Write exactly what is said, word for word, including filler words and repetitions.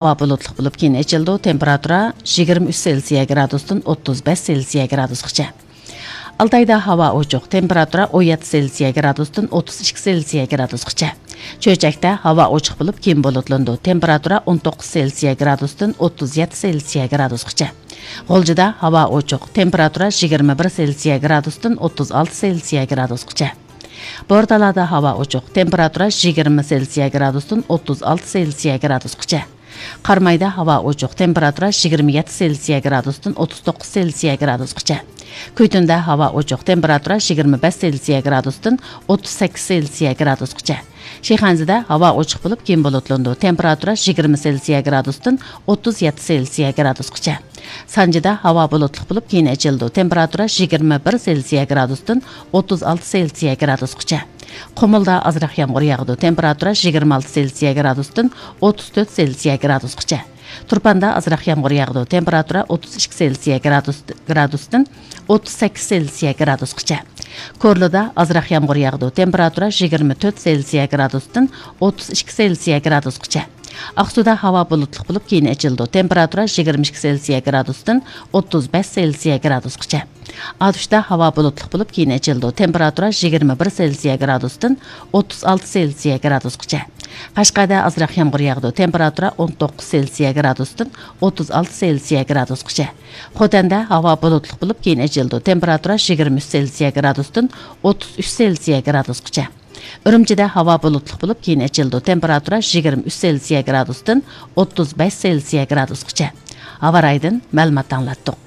ھاۋا بۇلۇتلۇق بولۇپ، كېيىن ئېچىلىدۇ. تېمپېراتۇرا يىگىرمە ئۈچ سېلسىيە گرادۇستىن ئوتتۇز بەش سېلسىيە گرادۇسقىچە. ئالتايدا ھاۋا ئوچۇق، تېمپېراتۇرا ئون يەتتە سېلسىيە گرادۇستىن ئوتتۇز ئىككى سېلسىيە گرادۇسقىچە. چۆچەكتە ھاۋا ئوچۇق بولۇپ، كېيىن بۇلۇتلىنىدۇ. تېمپېراتۇرا ئون توققۇز سېلسىيە گرادۇستىن ئوتتۇز يەتتە سېلسىيە گرادۇسقىچە. غۇلجىدا ھاۋا ئوچۇق، تېمپېراتۇرا يىگىرمە بىر سېلسىيە گرادۇستىن ئوتتۇز ئالتە سېلسىيە گرادۇسقىچە. بورتالادا ھاۋا ئوچۇق، تېمپېراتۇرا يىگىرمە سېلسىيە گرادۇستىن ئوتتۇز ئالتە سېلسىيە گرادۇسقىچە. قارامايدا ھاۋا ئوچۇق، تېمپېراتۇرا يىگىرمە يەتتە سېلسىيە گرادۇستىن ئوتتۇز توققۇز سېلسىيە گرادۇسقىچە. كۈيتۈندە ھاۋا ئوچۇق، تېمپېراتۇرا يىگىرمە بەش سېلسىيە گرادۇستىن ئوتتۇز سەككىز سېلسىيە گرادۇسقىچە. شىخەنزىدە ھاۋا ئوچۇق بولۇپ، كېيىن بۇلۇتلىنىدۇ. تېمپېراتۇرا يىگىرمە سېلسىيە گرادۇستىن ئوتتۇز يەتتە سېلسىيە گرادۇسقىچە. سانجىدا ھاۋا بۇلۇتلۇق بولۇپ، كېيىن ئېچىلىدۇ. تېمپېراتۇرا يىگىرمە بىر سېلسىيە گرادۇستىن ئوتتۇز ئالتە سېلسىيە گرادۇسقىچە. قۇمۇلدا ئازراق يامغۇر ياغىدۇ. تېمپېراتۇرا يىگىرمە ئالتە سېلسىيە گرادۇستىن ئوتتۇز تۆت سېلسىيە گرادۇسقىچە. تۇرپاندا ئازراق يامغۇر ياغىدۇ. تېمپېراتۇرا ئوتتۇز ئىككى سېلسىيە گرادۇس، گرادۇستىن ئوتتۇز سەككىز سېلسىيە گرادۇسقىچە. كورلىدا ئازراق يامغۇر ياغىدۇ. تېمپېراتۇرا يىگىرمە تۆت سېلسىيە گرادۇستىن ئوتتۇز ئىككى سېلسىيە گرادۇسقىچە. ئاقسۇدا ھاۋا بۇلۇتلۇق بولۇپ، كېيىن ئېچىلىدۇ. تېمپېراتۇرا يىگىرمە ئىككى سېلسىيە گرادۇستىن ئوتتۇز بەش سېلسىيە گرادۇسقىچە. ئاتۇشتا ھاۋا بۇلۇتلۇق بولۇپ، كېيىن ئېچىلىدۇ. تېمپېراتۇرا يىگىرمە بىر سېلسىيە گرادۇستىن ئوتتۇز ئالتە سېلسىيە گرادۇسقىچە. قەشقەردە ئازراق يامغۇر ياغىدۇ. تېمپېراتۇرا ئون توققۇز سېلسىيە گرادۇستىن ئوتتۇز ئالتە سېلسىيە گرادۇسقىچە. خوتەندە ھاۋا بۇلۇتلۇق بولۇپ، كېيىن ئېچىلىدۇ. تېمپېراتۇرا يىگىرمە ئۈچ سېلسىيە گرادۇستىن ئوتتۇز ئۈچ سېلسىيە گرادۇسقىچە. ئۈرۈمچىدە ھاۋا بۇلۇتلۇق بولۇپ، كېيىن ئېچىلىدۇ. تېمپېراتۇرا يىگىرمە ئۈچ سېلسىيە گرادۇستىن ئوتتۇز بەش سېلسىيە گرادۇسقىچە. ھاۋا رايىدىن مەلۇمات ئاڭلاتتۇق.